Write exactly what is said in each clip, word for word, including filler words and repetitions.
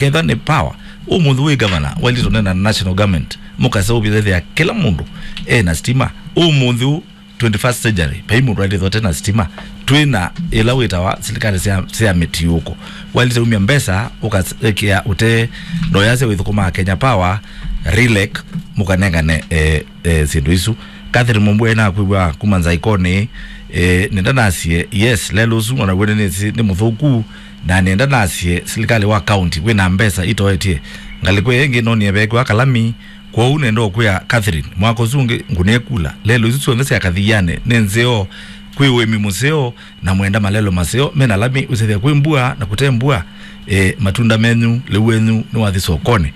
Ketha nĩ power, ũmũnthĩ wĩ gavana, wailĩte ũneena na national government, mũkaseũvya ethĩa kĩla mũndũ ena stima. Ũmũnthĩ ũ twenty-first century, vai mũndũ ailĩthwa tena stima. Twĩna ĩla wĩtawa silikalĩ sya, sya mĩtiũko. Wailĩte umya mbesa, ũkaekĩa ũte ndoyasya wĩthũkũmaa Kenya Power, Rilek, mũkanengane, eh, eh, syĩndũ isu. Catherine Mumbua nakwĩw'a kuma Nzaikoni, eh, nenda nasie, yes, lelo ũsu, ona wene nĩ, nĩ mũthũku, na nenda nasie, silikalĩ wa county, wĩna mbesa itoetye. Ngalĩko ĩngĩ nonie vekwa kalami, kwoou nenda ũkwĩa Catherine, mwaka ũsu ũngĩ ngũnĩe kula. Lelo isu syonthe sya kathianĩ, nĩ nzeo, kwĩ ũĩmi mũseo, na mwenda malelo maseo, mena lami, ũsethĩa kwĩ mbua, na kũte mbua, eh, matunda menyu, lĩu wenyu, nĩwathi sokoni.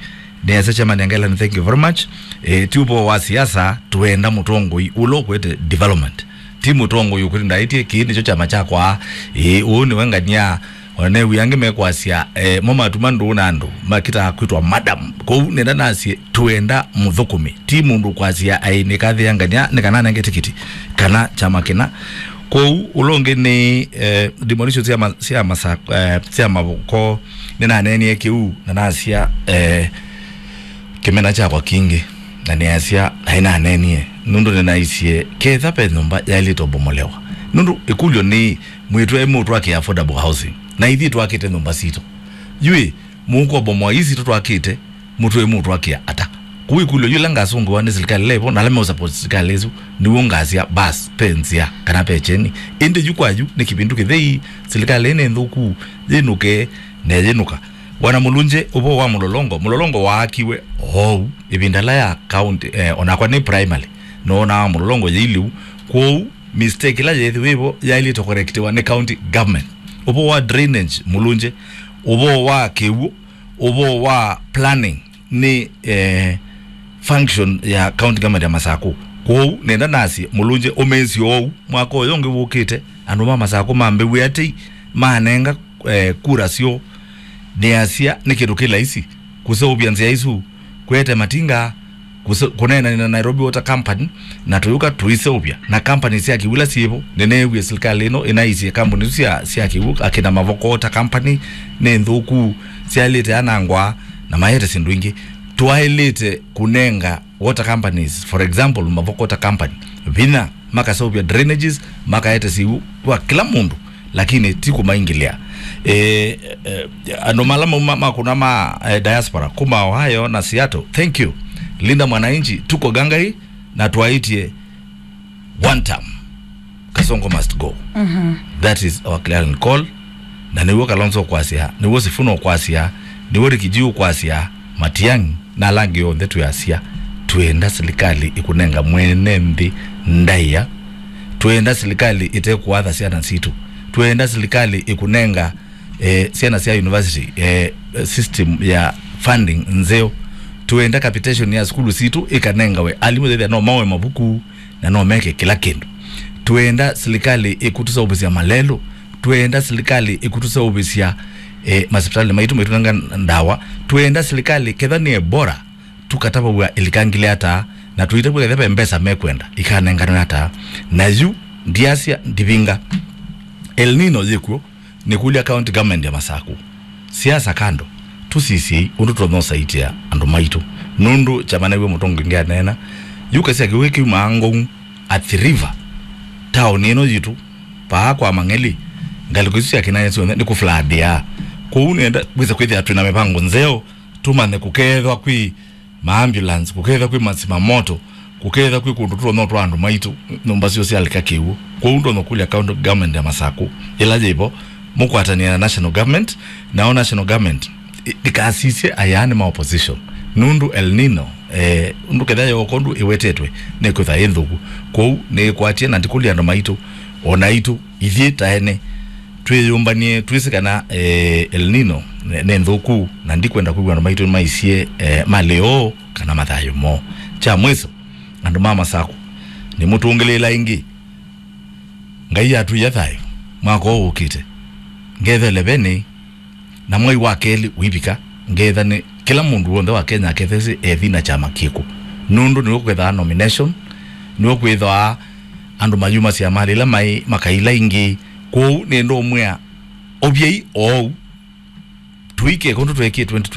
Nĩasya Chairman Ngelani, thank you very much. Eh, ti ũvoo wa siasa, twenda mũtongoi ũla ũkwete development. Ti mũtongoi ũkwĩte ndaĩtie, kĩĩ nĩkyo kyama kyakwa, ĩĩ, ũũ nĩwe ngania, ona new'ĩ angĩ mekwasya, eh, mo matuma ndũũ na andũ, makitaa kwĩtwa madam. Kwoou nenda nasye, twenda mũthũkũmi. Ti mũndũ kwasya, ai, nĩkathĩa ngania, nĩ kana nenge tikiti, kana kyama kĩna. Kwoou, ũla ũngĩ nĩ, eh, ndimũnisyo sya ma-, sya masa-, eh, sya mavoko, nĩnaneenie kĩu, na nasya, eh, kĩmena kyakwa kingĩ, na nĩasya, naĩ nanenie, nũndũ nĩnaisye, ketha ve nyũmba yaĩlĩte ũbomolewa. Nũndũ ĩkũlyo nĩ, mwĩtũ e mũtwakĩa affordable housing, na ithyĩ twakĩte nyũmba sitũ. Yu ĩ, mũkũbomoa ii sitũ twakĩte, mũtwĩ mũtwakĩa ata? Kũu ĩkũlyo yu ĩla ngasũngĩwa nĩ silikalĩ ĩla ĩvo, na ala meũsupport silikalĩ ĩsu, nĩw'o ngasya, bas, ve nzĩa, kana ve kyeni. Ĩndĩ yu kwa yu, nĩ kĩvindu kĩthei, silikalĩ ĩĩ nĩ nthũku, yĩnũke, na yĩnũka. Bwana Mulunje, ũvoo wa mũlolongo, mũlolongo waakiwe oou, ĩvinda ĩla ya county, eh, onakwa nĩ primary, noonaa mũlolongo yĩ lĩu. Kwoou, mistake ĩla yeethĩwa ĩvo yaĩlĩte kũkorekitiwa nĩ county government. Ũvoo wa drainage, Mulunje, ũvoo wa kĩw'ũ, ũvoo wa planning nĩ, eh, function ya county government ya Masakũ. Kwoou, nenda nasye, Mulunje, ũmĩĩsye oou, mwaka ũyũ ũngĩ wũkĩte, andũ ma Masakũ mambĩw'e atei, manenga, eh, kura syoo. Nĩasya, nĩ kĩndũ kĩ laisi kũseũvya nzĩa isu, kwete matinga, kũse-, kũneenany'a na Nairobi Water Company, na tũyũka tũiseũvya na company sya kĩw'ũ ila syĩvo. Nĩneewie silikalĩ ĩno ĩnaisye kambuni isu sya, sya kĩw'ũ, akĩna Mavoko Water Company, nĩ nthũku, syaĩlĩte anangwa, na maete syĩndũ ingĩ. Twaĩlĩte kũnenga water companies, for example, Mavoko Water Company, vinya, makaseũvya drainages, makaete syĩw'ũ kwa kĩla mũndũ, lakini ti kũmaingĩlĩa. Eh, eh, andũ mala mauma makũna ma, eh, diaspora kuma Ohio na Seattle, thank you. Linda Mwananchi, tuko Gangai, na twaĩtye one term. Kasongo must go. That is our clarion call. Na nĩw'o Kalonzo ũkwasya, nĩw'o Sifuna ũkwasya, nĩw'o Rikiji ũkwasya, Matiang'i, na ala angĩ onthe twĩasya, twĩenda silikalĩ ĩkũnenga mwene nthĩ ndaĩa. Twĩenda silikalĩ ĩtekũatha syana sitũ. Twĩenda silikalĩ ĩkũnenga, eh, syana sya university, eh, system ya funding nzeo. Twĩenda capitation ya sukulu sitũ ĩkanengawe alimũ, ethĩa no maoe mavuku na no meke kĩla kĩndũ. Twĩenda silikalĩ ĩkũtũseũvĩsya malelũ. Twĩenda silikalĩ ĩkũtũseũvĩsya, eh, masipitali maitũ, maitũnenga ndawa. Twĩenda silikalĩ ketha nĩ Ebola, tũkatavaw'a ĩlikangile ata, na tũitavw'a ketha ve mbesa mekwenda ikanenganwe ata. Na yu, ndiasya, ndivinga. El Nino yĩkw'o, nĩkũlya county government ya Masakũ. Siasa kando, tũsisyei ũndũ tũtonya ũsaitĩa andũ maitũ. Nũndũ kyama nĩw'o mũtongoi ngĩ aneena, yu kasya kĩw'ũ kĩumaa Ngong'u, Athi River, taoni ĩno yitũ, paa kwa Mang'eli, ngalĩko isu sya Kĩnai syonthe nĩ kũfladĩa. Kwoou nĩenda wĩse kwĩthĩa twĩ na mĩvango nzeo, tũmanye kũkeethwa kwĩ ma ambulance, kũkethwa kwĩ masima moto, kũkethwa kwĩ kũndũ tũtonya twa andũ maitũ, nyũmba syoo syalika kĩw'ũ. Kwoou ndonya kũlya county government ya Masakũ, ĩla yĩvo, mũkwatanĩa na national government, nao national government ĩ-, ndĩkasisye ayaani ma opposition. Nũndũ El Nino, eh, ũndũ ketha yooka ũndũ ĩwetetwe, nĩkwĩthwa ĩ nthũku. Kwoou nĩĩkwatie na ndikũlya andũ maitũ, o naitũ, ithyĩ ta ene, twĩyũmbany'e, twĩsĩ kana, eh, El Nino nĩ, nĩ nthũku, na ndikwenda kwĩw'a andũ maitũ maisye, eh, malĩ oo kana mathayũ moo. Kya mwĩso, andũ ma Masakũ, nĩmũtũngĩlĩĩla ĩngĩ. Ngai atwĩa thayũ mwaka ũũ ũkĩte. Ngetha elevenĩ, na mwei wa kelĩ ũivika, ngetha nĩ kĩla mũndũ w'onthe wa Kenya akethesĩ ethi na kyama kĩkũ. Nũndũ nĩw'o kwĩthaa nomination, nĩw'o kwĩthaa andũ mayumasya malĩ ĩla maĩ makaila ingĩ. Kwoou nĩndũmwĩa, ovyei oou. Tũike kũndũ tweekie twenty twenty-four.